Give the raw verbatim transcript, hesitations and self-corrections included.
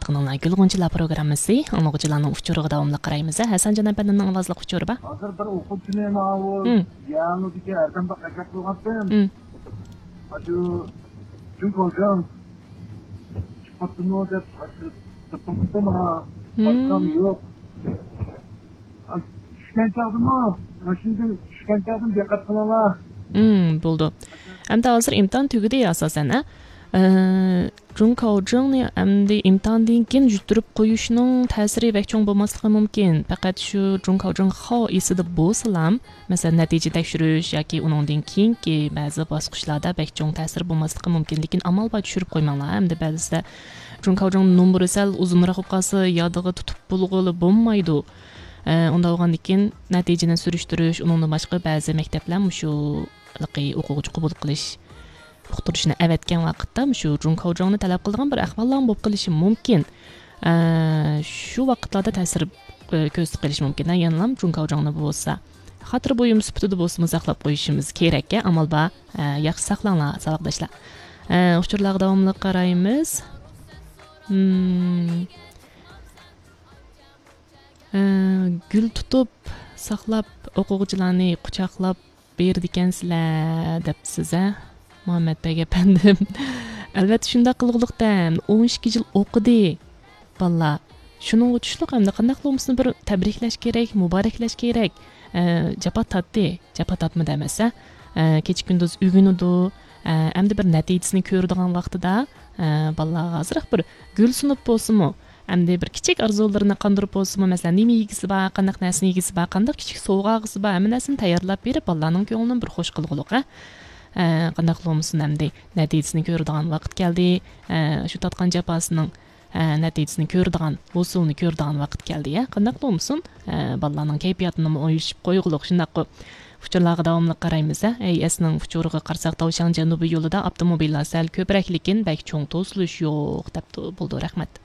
ئاڭلىغۇچىلار، گۈل غۇنچىلار پروگراممىسى، ئاڭلىغۇچىلارنىڭ ئۇچۇرىغا داۋاملىق قارايمىز. ھەسەنجان ئەپەندىمنىڭ ئاۋازلىق ئۇچۇرى بار. ھازىر بىر ئوقۇغۇچىنى ماۋۇ يەڭلىدىكى ئەردەمدە قاچاق قىلغانتىم. ئاشۇ جۇڭ كاۋجاڭ چىقىپتىمۇ دەپ، ئاشۇ تېپىپتىم ھا. باشقام يوق. چۈشكەن چاغدىمۇ، ماشىنىدىن چۈشكەن چاغدىمۇ دىققەت قىلىڭلار. بولدى. ئەمدى ھازىر ئىمتىھان تۈگىدى ئاساسەن، ھە؟ ئە، جۇڭ كاۋجىڭنى ئەمدى ئىمتىھاندىن كېيىن يۈتتۈرۈپ قويۇشنىڭ تەسىرى بەك چوڭ بولماسلىقى مۇمكىن. پەقەت شۇ جۇڭ كاۋجىڭ خاۋ ئېسىدە بولسىلام، مەسىلەن، نەتىجە تەكشۈرۈش ياكى ئۇنىڭدىن كېيىنكى بەزى باسقۇچلاردا بەك چوڭ تەسىرى بولماسلىقى مۇمكىن. لېكىن ئامال بار چۈشۈرۈپ قويماڭلار. ئەمدى بەزىدە جۇڭ كاۋجىڭ نومۇرى سەل ئۇزۇنراق بولۇپ قالسا، يادىغا تۇتۇپ بولغىلى بولمايدۇ. ئە، ئۇنداق بولغاندىن كېيىن نەتىجىنى سۈرۈشتۈرۈش، ئۇنىڭدىن باشقا بەزى مەكتەپلەر مۇشۇ ھېلىقى ئوقۇغۇچى قوبۇل قىلىش ئۇقتۇرۇشنى ئەۋەتكەن ۋاقىتتا مۇشۇ جۇڭ كاۋجاڭنى تەلەپ قىلىدىغان بىر ئەھۋاللارمۇ بولۇپ قېلىشى مۇمكىن. ئە، شۇ ۋاقىتلاردا تەسىر، ئە، كۆرسىتىپ قېلىشى مۇمكىن. يەنىلا جۇڭ كاۋجاڭنى بولسا خاتىرە بۇيۇم سۈپىتىدە بولسىمۇ ساقلاپ قويۇشىمىز كېرەك. ئامال بار. ئە، ياخشى ساقلاڭلار، ساۋاقداشلار. ئە، ئۇچۇرلارغا داۋاملىق قارايمىز. مم. ئە، گۈل تۇتۇپ ساقلاپ، ئوقۇغۇچىلارنى قۇچاقلاپ بېرىدىكەنسىلەر دەپسىز، ھە، مۇھەممەتبەگ ئەپەندىم. ئەلۋەتتە، شۇنداق قىلغۇلۇق-دە، ئون ئىككى يىل ئوقۇدى بالىلار. شۇنىڭغا چۈشلۈك ئەمدى قانداقلا بولمىسۇن بىر تەبرىكلەش كېرەك، مۇبارەكلەش كېرەك. ئە، جاپا تارتتى، جاپا تارتمىدى ئەمەس، ھە. ئە، كېچە-كۈندۈز ئۆگىنىدۇ. ئە، ئەمدى بىر نەتىجىسىنى كۆرىدىغان ۋاقتىدا، ئە، بالىلارغا ئازراق بىر گۈل سۇنۇپ بولسىمۇ، ئەمدى بىر كىچىك ئارزۇلىرىنى قاندۇرۇپ بولسىمۇ، مەسىلەن، نېمە يېگۈسى بار، قانداق نەرسىنى يېگۈسى بار، قانداق كىچىك سوۋغا ئالغۇسى بار، ھەممە نەرسىنى تەييارلاپ بېرىپ، بالىلارنىڭ كۆڭلىنى بىر خوش قىلغۇلۇق، ھە. ئە، قانداقلا بولمىسۇن، ئەمدى نەتىجىسىنى كۆرىدىغان ۋاقىت كەلدى. ئە، شۇ تارتقان جاپاسىنىڭ، ئە، نەتىجىسىنى كۆرىدىغان، ھوسۇلىنى كۆرىدىغان ۋاقىت كەلدى، ھە. قانداقلا بولمىسۇن، ئە، بالىلارنىڭ كەيپىياتىنىمۇ ئويلىشىپ قويغۇلۇق، شۇنداققۇ؟ ئۇچۇرلارغا داۋاملىق قارايمىز، ھە. ئەي ئەسنىڭ ئۇچۇرىغا قارىساق، تاۋشياڭ جەنۇبىي يولىدا ئاپتوموبىللار سەل كۆپرەك، لېكىن بەك چوڭ توسۇلۇش يوق، دەپتۇ. بولدى، رەھمەت.